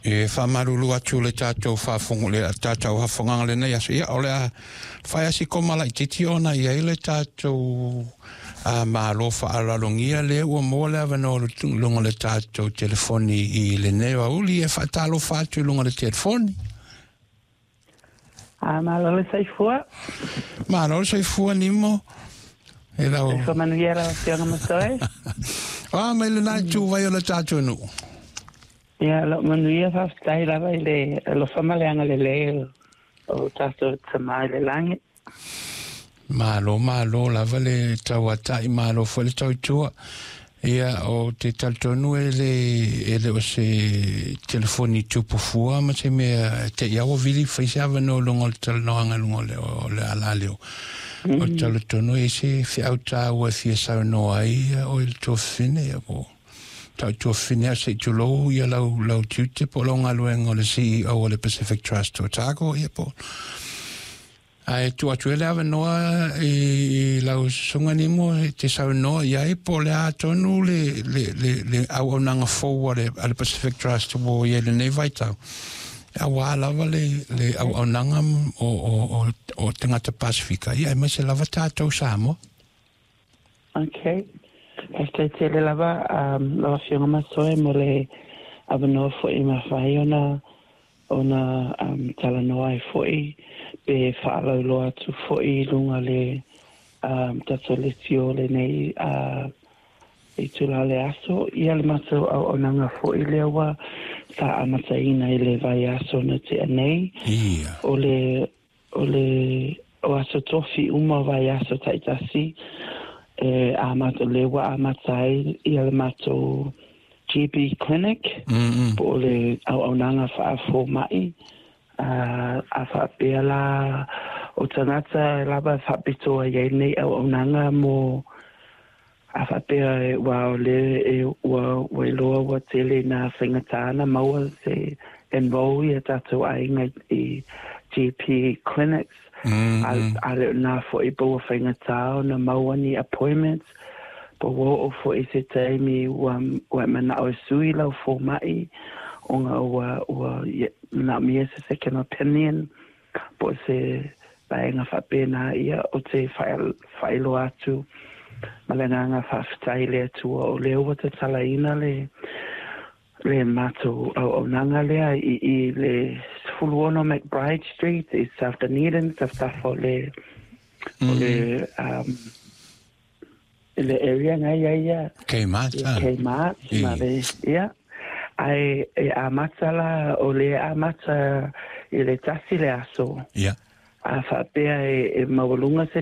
E faamalulu atu le tatou faafofoga le tatou afogaga lenei aso. Ia, o le a fai a si koma laitiiti ona i ai le tatou malo faaaloalogia lea ua maua le avanoa luga o le tatou telefoni i lenei aoauli. E faatalofa atu i luga o le telefoni. A malo le soifua. Malo le soifua Nimo. E lau. Soifua manuia lau Afioga Masoe. A mai lena itu vai o le tatou nuu. Ia, lo manuia, faafetai lava i le alofa ma le agalelei o tatou Tama i le lagi. Malo, malo lava le tauatai, malo foi le tautua. Ia, o te talitonu e le o se telefoni tupu fua ma se mea te ia ua vili fai se avanoa luga o le talanoaga luga o le alaleo. O le talitonu e se feau tāua e fia saunoa ai o i le tuafafine ia po tau tuafafine a se i tulou ia lau tiute po o lau galuega o le CEO o le Pacific Trust Otago ia po ae tuu atu ai le avanoa i lau susuga Nimo e te saunoa i ai po o le a tonu le auaunaga fou a le Pacific Trust ua i ai lenei vaitau auā lava le auaunaga o tagata Pasifika ia aemaise lava tatou Samoa. Okay. Faafetai tele lava lau Afioga Masoe mo le avanoa foi mafai ona talanoa ai foi pe faalauiloa atu foi i luga le tatou leitio lenei itula o le aso. Ia, le matou auaunaga foi lea ua sa amataina i le vaiaso na tea nei. O le aso tofi uma o vaiaso taitasi e amata le ua amata ai ia le matou GP clinic po o le auaunaga faafoma'i a faapea la o tagata lava faapitoa i ai nei auaunaga mo a faapea e ua o le e ua iloa ua tele na faigata na maua se enroll ia tatou aiga i GP clinics a le na foi po ua faigata ona maua ni appointments po ua oo foi se taimi ua manao e sui lau foma'i ona ua manaomia se second opinion po o se vaega faapena. Ia, o te faailoa atu ma le agaga faafetai le Atua o lea ua tatalaina le matou auaunaga lea i le 16 McBride Street i South Dunedin, tafatafa o le i le area ngai ai ia Kmart. Ia Kmart ma le ia ai e amata la o le amata i le 1 le aso a faapea e maualuga se